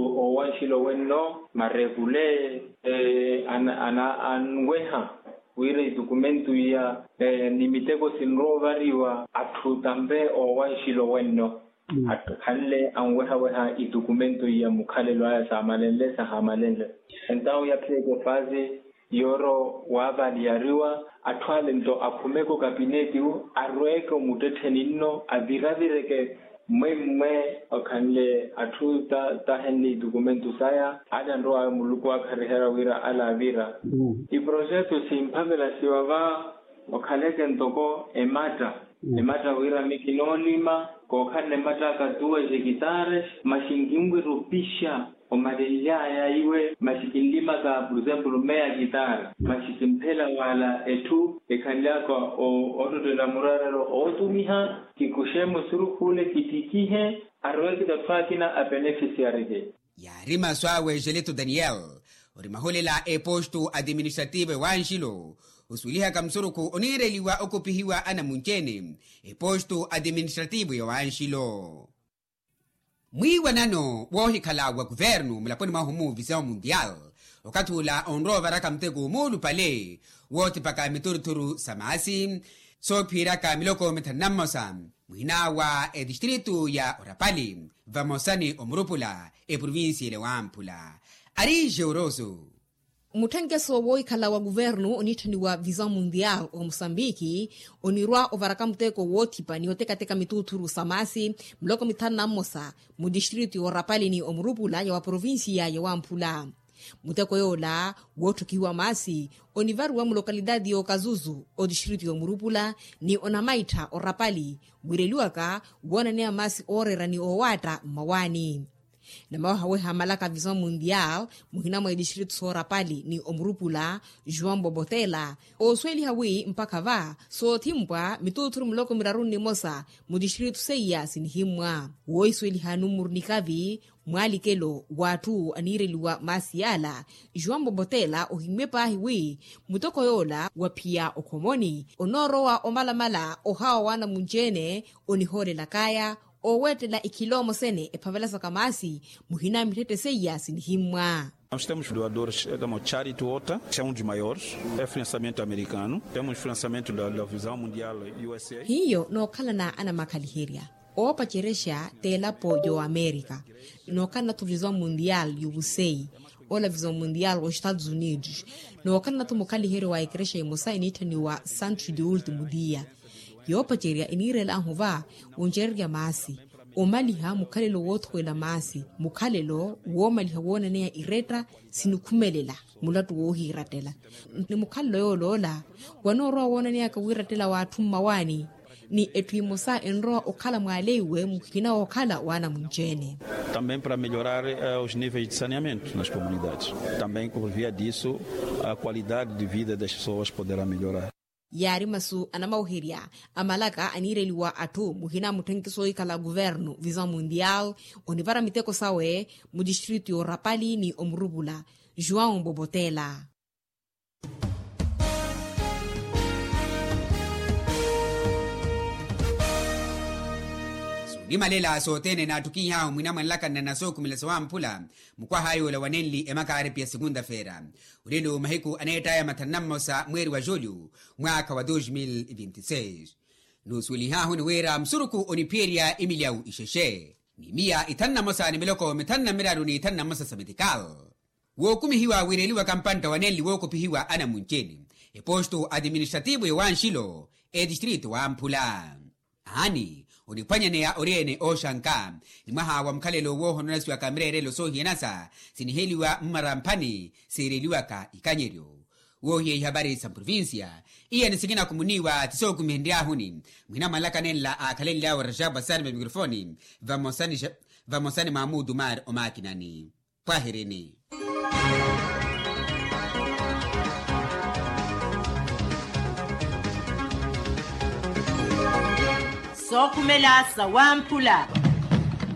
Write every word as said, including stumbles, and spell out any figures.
Owanxilo wenno marekule anweha wira itukumentu iya ni miteko sinrowa ovariwa atthu tampe owanxilo wenno attukhanle anwehaweha itukumentu iya mukhalelo aya saamalenle sahamalenle. Entawu yaphiyeke ofasi yooro waavaliyariwa atthu ale nto akhumeke okapineti wu arweeke omuttettheni nno aviravireke mmwe mmwe okhanle atthu tahenle itukumentu saya ale anrowaya muluku waakhariherya wira ale avira. Iprojetu simphavelasiwa va okhaleke ntoko ematta ematta wira mikinoolima kookhalana ematta akatuwa jekitares masi nkinwirupixa omalenly'aya iwe masi kinlimaka por exemplo meya kitara masi kimphela wala etthu ekhanly'aka ottottela muraarelo ootumiha kikuxe musurukhule kitikihe arowekita atthu akina apenefisiarike. Yaari masu awe jeleto daniel ori mahulela epostu administrativo ewanxilo osuwelihaka musurukhu oniireliwa okupihiwa anamunci-ene epostu administrativo yowanxilo. Mwiiwanano woohikhala wa kuvernu mulaponi mwahu mu vision mundial okathi ula onrowa ovaraka muteko muulupale woothipaka mithuruturu sa maasi soophiyeryaka miloko mithanu na mmosa muhina wa etistritu ya orapali vamosa ni omurupula eprovincia ele wamphula ari jeuroso. Mutthenkeso woohikhala wa kuvernu oniitthaniwa vision mundial omosambiki onirwa ovaraka muteko woothipa ni otekateka mituuthuru sa maasi muloko mithanu na mmosa mu distritu yoorapali ni omurupula ya wa provincia ya wamphula. Muteko yoola wootthukihiwa maasi onivariwa mulokalitaati y'okazuzu otistritu y'omurupula ni onamaittha orapali wiireliwaka woonaneya maasi ooreera ni oowaatta mmawaani. Namawahaweha malaka vision mundial muhina mwa etistritu soorapali ni omurupula juan bobotela oosuweliha wi mpakha va soothimpwa mituuthuru muloko miraru nnimosa mu tistritu seiya sinihimmwa woohisuweliha numuru nikavi mwaalikelo w'atthu aniireliwa maasi yaala juan bobotela ohimmye paahi wi mutoko yoola waphiya okhomoni onoorowa omalamala ohawa w'anamunci-ene onihoolelak'aya oowettela ikhiloomo sene ephavelasaka maasi muhina mitthette seiya sinihimmwa. Nós temos doadores como charity water que é um dos maiores é financiamento americano temos financiamento da visão mundial usa. Hiyo nookhalana anamakhaliherya oopacerexa t'elapo y'oamerika nookhalana-tho vision mundial y'ovusei ola vision mundial w'ostados unidos nookhalana-tho mukhaliheryo wa ekerexa emosa eniitthaniwa santos de ultimo dia. Yoopacerya eniirel'ahu va woncererya maasi omaliha mukhalelo woothuwela maasi mukhalelo woomaliha woonaneya iretta sinikhumelela mulattu woohiirattela ni mukhalelo yooloola wanoorowa woonaneyaka wiirattela w'atthu mmawaani ni etthu emosa enrowa okhala mwaaleiwe mukhina wookhala w'anamunci-ene. Também para melhorar os níveis de saneamento nas comunidades também por via disso a qualidade de vida das pessoas poderá melhorar. Yaari masu anamaweherya a malaka aniireliwa atthu muhina mutthenkiso ohikhala kuvernu vision mundial onivara miteko sawe mu tistritu y'orapali ni omurupula juan bobotela. Soonimalela sothene naattukihahu mwinamwanelaka nnanasookhumela sawamphula mukwaha yoola wanenli emakaaripi ya sekunta-feera olelo mahiku aneettaya mathanu na mmosa mweeri wa julyu mwaakha wa dos mil vinti seis. Nuusuwelihahu ni wira musurukhu oniphiyerya emilyawu ixexe ni miya ithanu na mosa ni miloko mithanu na miraru ni ithanu na mosa sa metikal wookumihiwa wiireliwaka mpantta wa nenli wookopihiwa anamunci-ene epostu administrativo y'owanxilo etistritu wamphula. Aani oniphwanyaneya ori-ene ooxanka ni mwaha wa mukhalelo woohononasiwaka mireerelo soohiyanasa siniheliwa mmaramphani siireliwaka ikanyeryo. Woohiya ihapari sa mprovincia iya ni sikina khumoniwa ti sookumihenryahuni muhina mwanlaka nenla aakhalenly'awe rajab asani va mikrofoni vamosa ni mamudu mari omaakinani. Pwahirini. Sookhumela sawamphula.